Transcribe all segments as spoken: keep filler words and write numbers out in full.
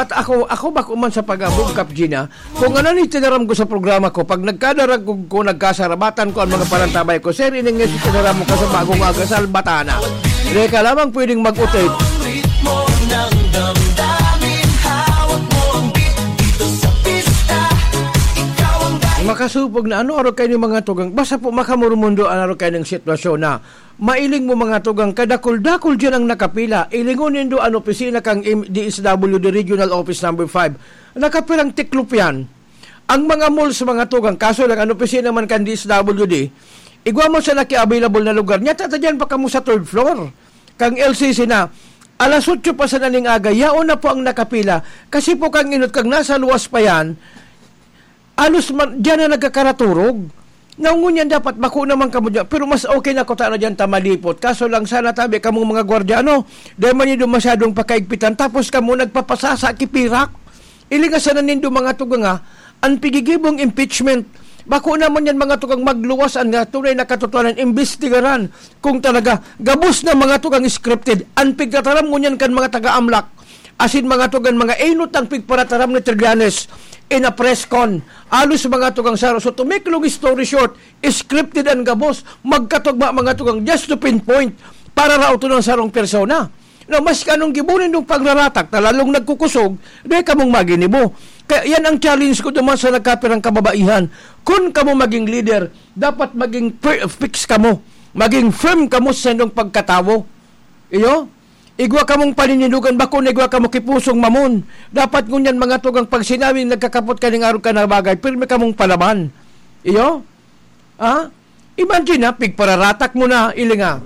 At ako, ako bako man sa pag-abog, Kap Gina, kung ano ni tinaram ko sa programa ko, pag nagkadarag ko, kung nagkasarabatan ko ang mga parantabay ko, "Sir, ining nga si tinaram mo ka sa bagong aga, salbata na." Hindi ka lamang pwedeng mag-utit. Makasupog na ano, araw kayo ni mga tugang. Basta po makamurmundo ang araw kayo ng sitwasyon na mailing mo mga tugang, kadakul-dakul dyan ang nakapila. Ilingon nindo ang opisina kang M-, D S W D Regional Office Number five. Nakapirang tiklop yan. Ang mga malls, mga tugang, kaso lang, ang opisina man kan D S W D, igwa mo sa naki-available na lugar. Niya, tata dyan pa kamo sa third floor. Kang L C C na, alas otso pa sa naning aga, yaon na po ang nakapila. Kasi po kang inot, kang nasa luwas pa yan, alos man, diyan na nagkakaraturog. Naungon yan dapat, bako naman kamo dyan. Pero mas okay na ko ta na dyan ta malipot. Kaso lang sana tabi kamong mga gwardiya, ano? Dahil man yun masyadong pakaigpitan. Tapos kamo nagpapasasa, kipirak. Ili nga sana nindo mga tugang, ah, ang pigigibong impeachment. Bako naman yan mga tugang magluwas an nga tunay na katotohanan, imbestigaran kung talaga gabos na mga tugang scripted. Ang pigtataram ngunyan kan mga taga-amlak, asin mga tugang mga inot ang pigparataram ni Trillanes in a press con. Alos mga tugang saro. So to make long story short, scripted ang gabos, magkatugma mga tugang just to pinpoint para raoton ang sarong persona. No, mas kanong gibo nindong pagraratak na lalong nagkukusog, dahil kamong maginibo. Kaya yan ang challenge ko duman sa nagkapirang kababaihan. Kun kamo maging leader, dapat maging per-, fix kamo. Maging firm kamo sa inyong pagkatawo. Iyo? Igwa kamong paninindugan, bako na igwa kamo kipusong mamon. Dapat ngunyan mga tugang pag sinabing nagkakapot ka ning arog ka na bagay, pirmi kamong palaban. Iyo? Ha? Imagine, ha, pigpararatak mo na, ilinga.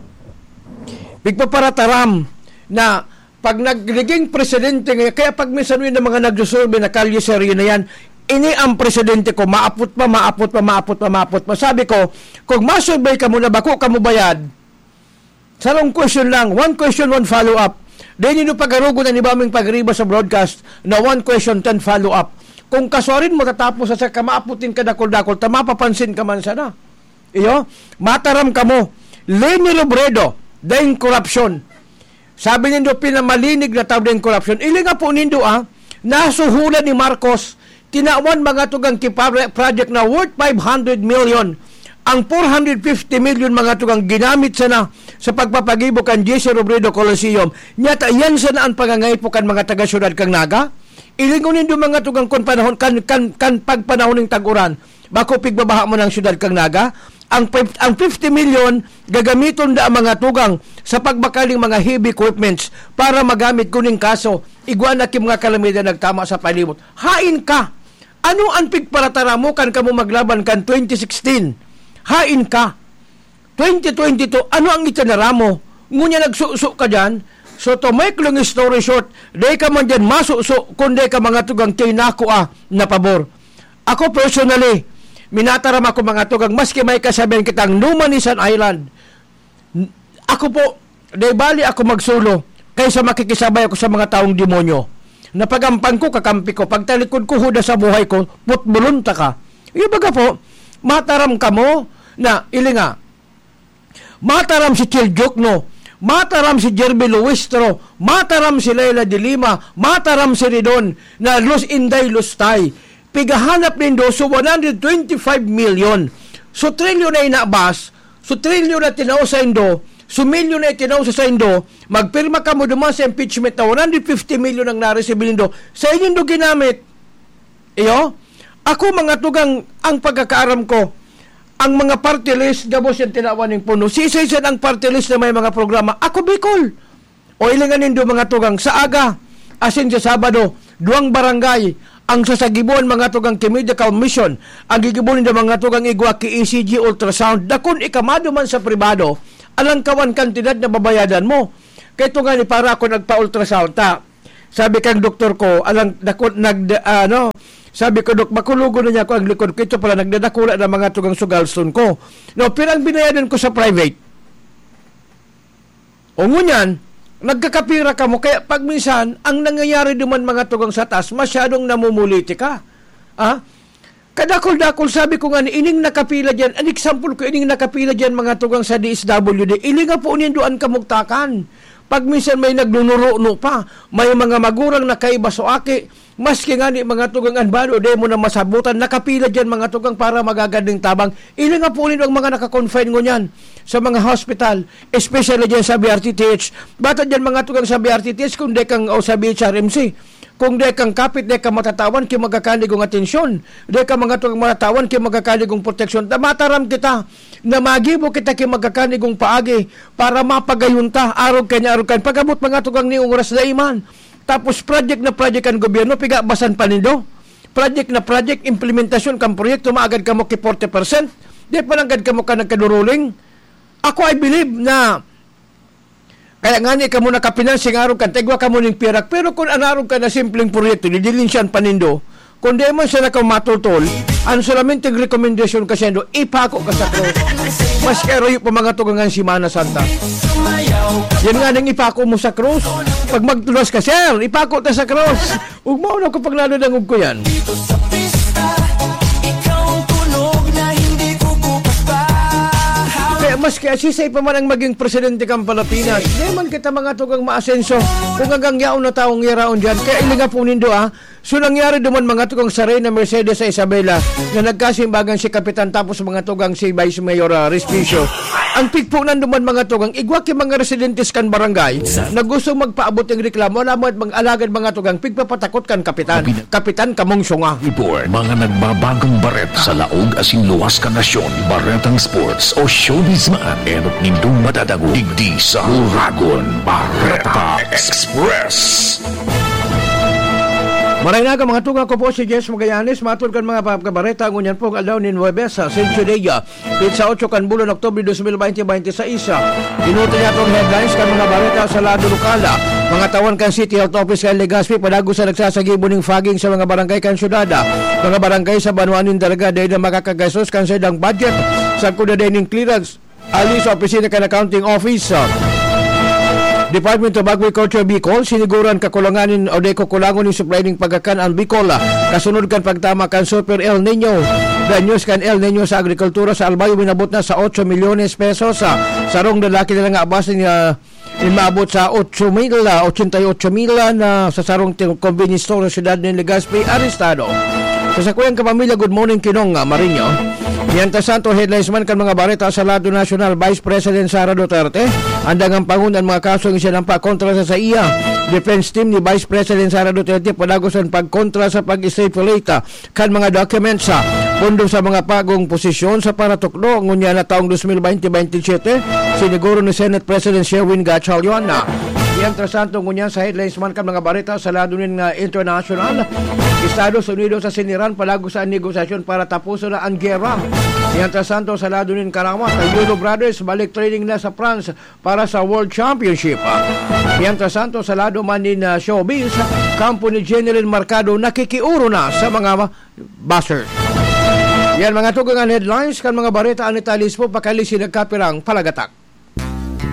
Pigpaparataram na pag nagliging presidente nga, kaya pag minsan yun ng mga nagsusurvey na kalye serye na yan, ini ang presidente ko, maapot pa, maapot pa, maapot pa, maapot pa. Sabi ko, kung masurvey ka muna, bako ka mo bayad, sarong question lang, one question, one follow-up. Dahil nyo pagarugon ang iba ming pagriba sa broadcast na one question, ten follow-up. Kung kaswarin mo, tatapos sa kamaapot din kadakol-dakol, ta mapapansin ka man sana. Iyo, mataram kamo, Leni Robredo, daing korupsyon. Sabi nindo, pinamalinig na tao daing korupsyon. Ili nga po nindo, ah, nasuhulan ni Marcos, tinawan mga tugang ki pare-, project na worth five hundred million. Ang four hundred fifty million mga tugang ginamit sana sa pagpapagibo kan J C Robredo Coliseum. Nyata, yan sana ang pangangaipo kan mga taga-syudad kang Naga. Ilingon nindo mga tugang kun panahon, kan, kan, kan pagpanahon ng tag-uran. Bako pigbabaha mo ng syudad kang Naga. Ang fif-, ang fifty million gagamiton da ang mga tugang sa pagbakaling mga heavy equipments para magamit kuning kaso. Igwa na ki mga kalamidad nagtama sa palibot. Hain ka! Ano ang pigparatara mo kan kamo maglaban kan twenty sixteen? Hain ka! Twenty twenty-two, ano ang itinara mo? Ngunyan nagsuso ka dyan. So, to make long story short, di ka man dyan masuso kung di ka mga tugang tinakua na pabor. Ako personally, minataram ako mga tugang, maski may kasabihan kitang no man is an island. N-, ako po, di bali ako magsolo kaysa makikisabay ako sa mga taong demonyo. Napagampang ko, kakampi ko. Pagtalikod ko, huda sa buhay ko, putbulon ta ka. Yung baga po, mataram kamo na, ilinga, mataram si Chel Diokno, mataram si Jerby Luistro, mataram si Leila de Lima, mataram si Ridon na Los Inday Lustay. Pigahanap nindo so one hundred twenty-five million. So trilyon na inabas, so trilyon na tinao sa indo, so milyon na itinao sa indo, magpirma kamo duman sa impeachment na one hundred fifty million ang nareceive nindo. Sa inyong ginamit, iyo? Ako, mga tugang, ang pagkakaaram ko, ang mga party list, gabos yan tinawan ng puno. Sisay siya ang party list na may mga programa. Ako, Bicol. O ilingan nindo, mga tugang, sa aga, asin sa Sabado, duwang barangay, ang sasagibuan, mga tugang, ki Medical Mission, ang gigibo nindo, mga tugang, igwa ki E C G, ultrasound, dakon ikamado man sa pribado, alang kawan kantidad na babayadan mo. Kay tunga ni para ako nagpa-ultrasound, ta. Sabi kang doktor ko, alang dako, nag, ano, sabi ko, "Dok, makulogon na niya ako ang likod ko. Ito pala, nagdadakula na mga tugang sugalston ko." No, pero ang binayadan ko sa private, o ngunyan, nagkakapira kamo. Kaya pag minsan, ang nangyayari duman mga tugang sa taas, masyadong namumuliti ka. Ah? Kadakol-dakol, sabi ko nga, ining nakapila dyan, an example ko, ining nakapila dyan, mga tugang sa D S W D, ili nga po nindo an kamugtakan. Pag minsan may nagnunuruno pa, may mga magurang nakaiba so aki, maski nga ni mga tugang an balo, di mo na masabutan, nakapila dyan mga tugang para magagad ning tabang. Ilinga po ninyo ang mga nakakonfine ngunyan sa mga hospital, especially dyan sa B R T T H. Bata dyan mga tugang sa B R T T H, kung di kang o sa B H R M C. Kung di kang kapit, di ka matatawan ki magkakanigong atensyon. Di ka mga tugang matatawan ki magkakanigong proteksyon. Ta mataram kita na magibo kita ki magkakanigong paagi para mapagayon ta, arog kanya, arog kan. Pag-abot mga tugang ni oras na iman. Tapos project na project kan gobyerno, pigabasan pa nindo. Project na project, implementasyon kan proyekto, maagad kamo ki forty percent. Di pa nanggad kamo ka nagkaduruling. Ako, I believe na kaya nga ni kamo nakapinansing arog kan, tigwa kamo ning pirak. Pero kung an arog ka na simpleng proyekto, didilinsyan pa nindo, kung di man siya nakamatultol, ang solamente rekomendasyon ka siya, ipako ka sa krus. Mas karayo pa mga tugang an Semana Santa. Yan nga nang ipako mo sa krus. Pag magtulas ka, "Sir, ipako ta sa krus." Ugmaon ako pag nadadangog ko yan. Dito sa pista, ikaw ang tunog na hindi ko bukas pa. Kaya maski asisay pa man ang maging presidente kan Pilipinas, di man kita mga tugang maasenso kung hanggang yaon na taong yaraon dyan. Kaya ilinga po nindo, ah. So, nangyari duman mga tugang sa Reyna Mercedes sa Isabela na nagkasimbagan si Kapitan tapos mga tugang si Vice Mayor, ah, Respicio. Ang pigpunan duman mga tugang, igwa ki mga residentes kan barangay na gusto magpaabot ng reklamo, alam mo, mag-alagad mga tugang, pigpapatakot kan Kapitan. Kapitan, kamong sunga. Report, mga nagbabagong bareta sa laog asin luwas kan nasyon, baretang sports o showbiz man, enot nindong madadangog digdi sa Uragon Bareta Express. Maray na ka, mga tugang, ako po si Jess Magallanes, matod kan mga pagkabareta, ngunyan pong aldaw nin Huwebes, sa Sencho Day, ah, Pizza otso kan bulan Oktubre dos mil baynte baynte sais. Inuto niya itong headlines kan mga bareta sa lado lokal. Mga tawan kan City Health Office kan Legazpi, padagos na nagsasagibo ning fogging sa mga barangay kan syudad. Mga barangay sa banwaan nin Dalaga, dahil na makakagastos kan saindang budget. Sagkod na din ning clearance ali sa opisina kan Accounting Office. Department of Agriculture Bicol, siniguran kakulangan nin o di kukulangon nin supply ning pagkakan ang Bicol, ah, kasunod kan pagtama kan Super El Nino. The news kan El Nino sa agrikultura sa Albay, minabot na sa otso milyones pesos. Ah, sarong lalaki na lang abas ni, ah, inmaabot sa otso mil, ah, ochenta y ocho mil, ah, na sa sarong ti-, convenience store sa siyudad nin Legazpi, arestado. Sa sakuyang kapamilya, good morning, Kinong, ah, Marinho. Mientras tanto, headlines man kan mga bareta sa lado nasyonal, Vice President Sara Duterte, andang ang pangun an mga kasong isinampa kontra sa saiya. Defense team ni Vice President Sara Duterte padagos an pagkontra sa pag-stipulate kan mga documents sa pondo sa mga bagong posisyon sa paratukdo ngunyan na taong dos mil baynte baynte siyete, siniguro ni Senate President Sherwin Gatchalian na. Mientras tanto, ngunyan sa headlines man kan mga bareta sa lado nin, ah, international, Estados Unidos sa siniran palago sa negosasyon para tapuson na ang gera. Mientras tanto, sa lado nin karawat, ang Yulo Brothers balik training na sa France para sa World Championship. Mientras tanto, sa lado man nin, ah, showbiz, kampo ni Jeneline Mercado nakikiuro na sa mga basher. Yan, mga tugang an headlines kan mga bareta, an detalye po pakali si nagkapirang palagatak.